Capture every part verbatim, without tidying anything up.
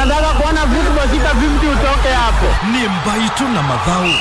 Nataka kuona football sita fifty utoke hapo. Nĩ mbaitũ na mathaũ.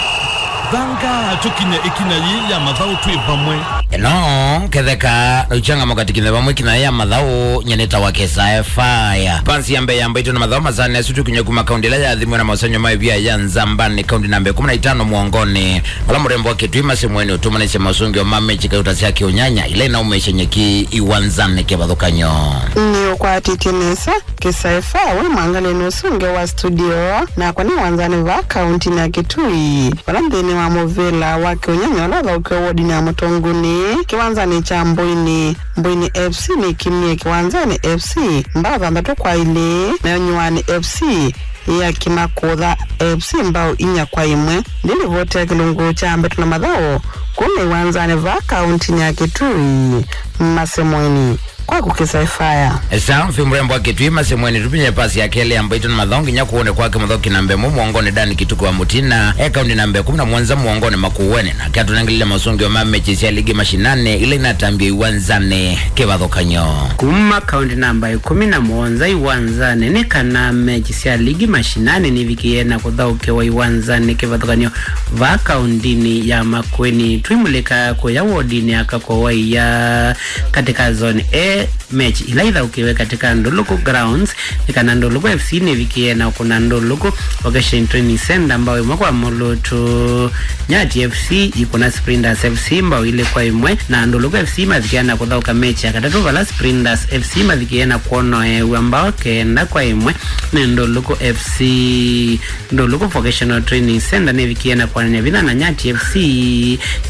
Thanga tũkinye ĩkinya yĩĩ ya mathaũ twĩ vamwe. Ĩno ketheka ũchangamoka tũkinye vamwe ĩkinya yĩĩ ya mathaũ, nyeneta wa Kĩsae Fire. Pansi ya mbee ya mbaitũ na mathaũ masaanĩ asu tũkinya kuma kaunti ĩla yathimwe na maũsengy'o ma ĩvia ya Nzambani, kaunti namba ĩkũmi na itano mũongonĩ. Vala mũrembo wa Kĩtui Masemweni ũtũmanĩsye masũngĩo ma mechi kauta sya kĩũnyanya ila inaumĩsya nyeki iwanzanĩ kĩvathũkany'o. Nĩũkwatĩtye nesa Kĩsae Fire wĩ mwangalĩnĩ ũsũngĩo wa studio, nakwa nĩ wanzanĩ vaa kauntinĩ ya Kĩtui, vala nthĩnĩ wa mũvĩla wa kĩũnyanya ũla ũthaũkiwe wodinĩ ya Mũtũngũnĩ, kĩwanzanĩ kya Mbũinĩ. Mbũinĩ F C nĩkinie kĩwanzanĩ F C mbao thanthatũ kwa ilĩ, nayo Nyuani F C yĩakima kũtha F C mbao inya kwa ĩmwe. Ndĩlivoti ya kĩlungu kya mbaitũ na mathaũ kuma iwanzanĩ vaa kauntinĩ ya Kĩtui, Masemweni. Kwaku Kĩsae Fire. Esa, fi mũrembo wa Kĩtui Masemweni tũvinye pasi ya kelĩ ya mbaitũ na mathaũ nginya kũũnĩ kwake mũthaũki namba ĩmwe mũongonĩ Dan Kituku wa Mũtina, e kaunti namba ĩkũmi na mũonza mũongonĩ Makueni, nake atũnengelile masũngĩo ma mechi sya ligi mashinani ila inatambie iwanzanĩ kĩvathũkany'o. Kuma kaunti namba ĩkũmi na mũonza iwanzanĩ nĩ kana mechi sya ligi mashinani nivikie na kũthaũkĩwa iwanzanĩ kĩvathũkany'o vaa kauntinĩ ya Makueni. Twimulĩka kũya wodinĩ ya Kakowa Ia katika zone A, mechi ila ithaũkĩwe katika Ndũlũkũ Grounds nĩ kana Ndũlũkũ F C nĩvikie na kũna Ndũlũkũ Vocation Training Center mbao ĩmwe kwa mũlũtũ. Nyati F C ikũna Sprinters F C mbao ilĩ kwa ĩmwe, na Ndũlũkũ F C mavikia na kũthaũka mechi ya katatũ vala Sprinters F C mavikie na kwonoeew'a mbao kenda kwa ĩmwe nĩ Ndũlũkũ F C. Ndũlũkũ Vocational Training Center nĩvikie na kwanany'a vinya na Nyati F C,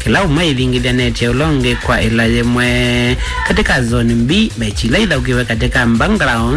kĩla ũmwe ĩvingĩthyanĩtye ũla ũngĩ kwa ĩla yĩmwe. Katika zone B, mechi ila ithaũkiwe katika Mbanground